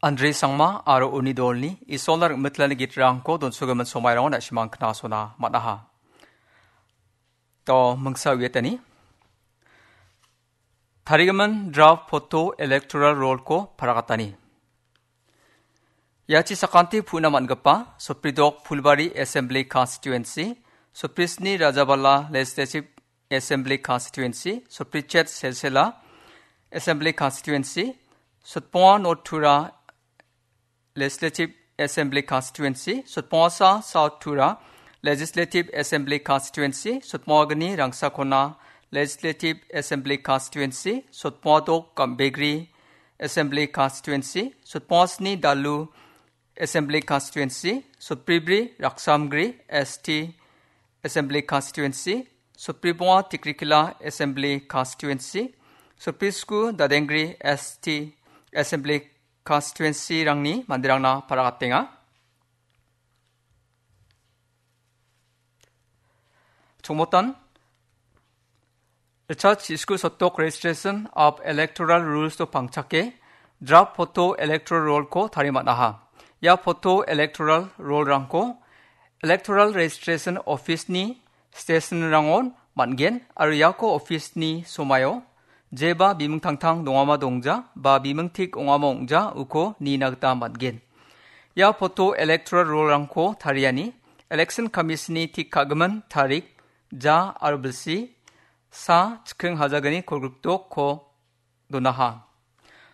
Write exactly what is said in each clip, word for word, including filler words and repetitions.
Andre Sangma aro uni dolni Isolna rim·mitlani gitrangko donsogimin somairangona na·simang knasona man·aha. To mingsa uiatani. Tarigimin draft photo electoral roll-ko paragatani. Iachi sakanti puna man·gipa Sopridok Phulbari Assembly Constituency, Soprisni Rajabala Legislative Assembly Constituency, Soprichet Selsela Assembly Constituency, Sotponga North Tura Legislative Assembly Constituency, Sotpongasa South Tura Legislative Assembly Constituency, Sotpongagni Rangsakona Legislative Assembly Constituency, Sotpongadok Gambegri Assembly Constituency, Sotpongasni Dalu Assembly Constituency, Sotbribri Raksamgri S T Assembly Constituency, Sotbribonga Tikrikila Assembly Constituency, Sotbrisku Dadengri S T Assembly Constituency-rangni manderangna paragatenga. Chongmotan, Richard Chisku Sotok Registration of Electoral Rules-o pangchake, draft photo electoral roll-ko tariman·aha. Ia photo electoral roll-rangko Electoral Registration Office-ni station-rangon man·gen aro iako office-ni somaio jeba bimingtangtang dongama dongja ba bimingtik ongama ong·ja uko nina gita man·gen. Ia photo electoral roll-rangko tariani Election Commission-ni tik ka·gimin tarik ja aro bilsi sa chikking hajagni kolgrikdokko donaha.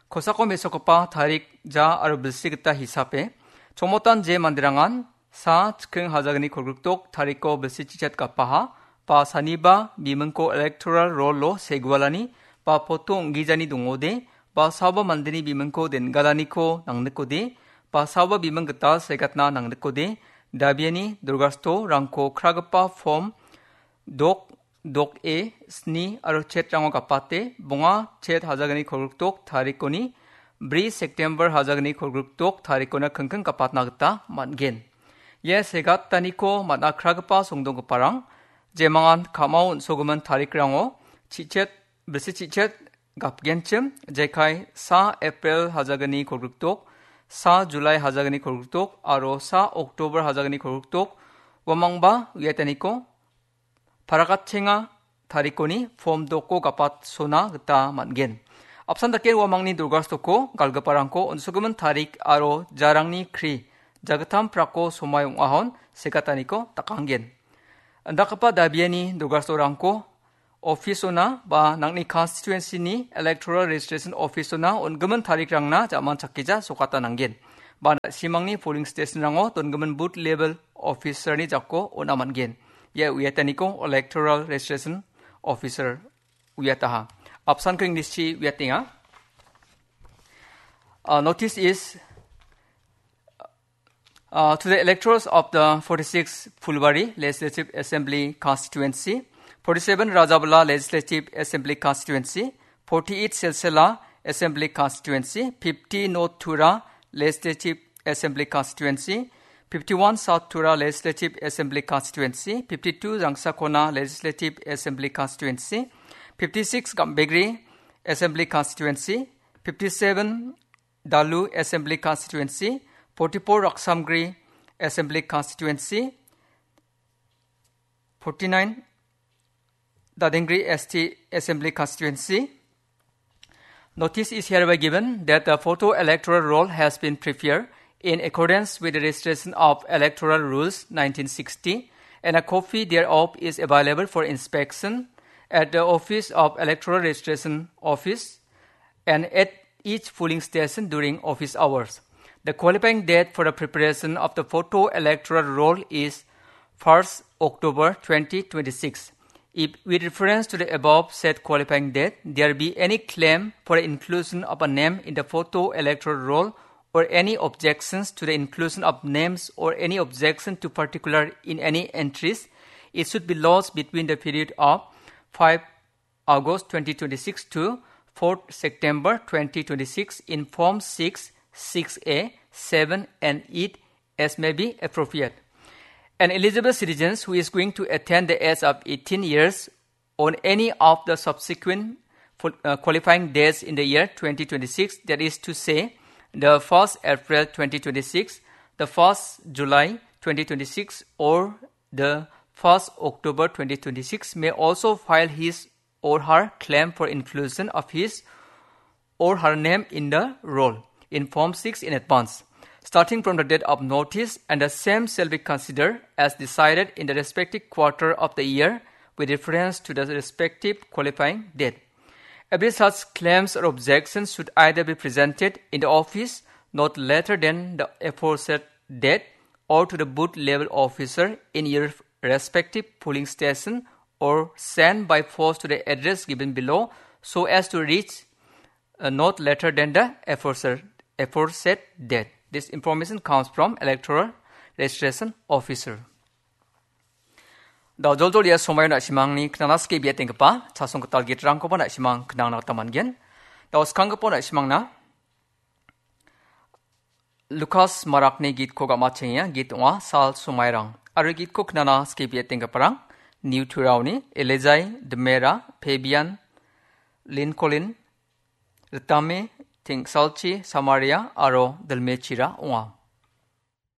Kosako mesokgipa tarik ja aro bilsi gita hisape, chongmotan je manderangan sa chikking hajagni kolgrikdok tariko bilsi chichet gapaha, ba saniba bimingko electoral roll-o segualani ba poto ong·gijani dongode, ba saoba mandeni bimingko den·galaniko nangnikode, ba saoba biming gital segatna nangnikode, dabiani dorgasto rangko kragipa form dok dok e sni aro chetrango gapate, bonga chet hajagni kolgrikdok tarikoni bri September hajagni kolgrikdok tarikona kingking gapatna gita man·gen. Ia segataniko man·akragipa songdonggiparang, jemangan ka·mao on·sogimin tarikrango chichet, bilsi chichet gapgenchim, jekai sa April hajagni kolgrikdok, sa July hajagni kolgrikdok, aro sa October hajagni kolgrikdok, uamangba uiataniko paragatchenga tarikoni form doko gapatsona gita man·gen. Apsan dake uamangni dorgastoko galgiparangko on·sogimin tarik aro jarangni kri jagittam prako somai ong·ahon segataniko dakanggen. Indakgipa dabiani dorgastorangko office-ona ba nangni constituency-ni electoral registration office-ona on·gimin tarikrangna ja·manchakgija sokata nanggen. Ba na·simangni polling station-rango dongimin booth level officer-ni jako on·a man·gen. Ia uiataniko electoral registration officer uiataha. Apsanko English-chi uiatenga. Uh, notice is, uh, to the electors of the forty-six Phulbari Legislative Assembly Constituency, forty-seven Rajabala Legislative Assembly Constituency, forty-eight Silsila Assembly Constituency, fifty North Tura Legislative Assembly Constituency, fifty-one South Tura Legislative Assembly Constituency, fifty-two Rangsakona Legislative Assembly Constituency, fifty-six Gambegre Assembly Constituency, fifty-seven Dalu Assembly Constituency, forty-four Raksamgre Assembly Constituency, forty-nine Dadengre S T Assembly Constituency. Notice is hereby given that the photo electoral roll has been prepared in accordance with the registration of electoral rules nineteen sixty, and a copy thereof is available for inspection at the office of electoral registration office and at each polling station during office hours. The qualifying date for the preparation of the photo electoral roll is first October twenty twenty-six. If, with reference to the above said qualifying date, there be any claim for the inclusion of a name in the photo electoral roll or any objections to the inclusion of names or any objection to particular in any entries, it should be lodged between the period of five August twenty twenty-six to fourth September twenty twenty-six in Form six, six A, seven and eight as may be appropriate. And eligible citizens who is going to attain the age of eighteen years on any of the subsequent fo-, uh, qualifying dates in the year twenty twenty-six, that is to say, the first April twenty twenty-six, the first July twenty twenty-six, or the first October twenty twenty-six may also file his or her claim for inclusion of his or her name in the roll in Form six in advance, starting from the date of notice, and the same shall be considered as decided in the respective quarter of the year with reference to the respective qualifying date. Every such claims or objections should either be presented in the office not later than the aforesaid date or to the booth level officer in your respective polling station or sent by post to the address given below so as to reach uh, not later than the aforesaid, aforesaid date. This information comes from Electoral Registration Officer. Da joljol ia somaio na·simangni knana sike biatenggipa chasong gital gitrangkoba na·simang knangna gita man·gen. Da skanggipa na·simangna Lukas Marakni gitko gam·atchengenga, git ong·a Sal Somairang. Aro gitko knana sike biatenggiparang Niu Turaoni, Elejai, Demera, Pebian, Lincoln, Ritame, Tengsalchi, Samaria, aro Dilmechira ong·a.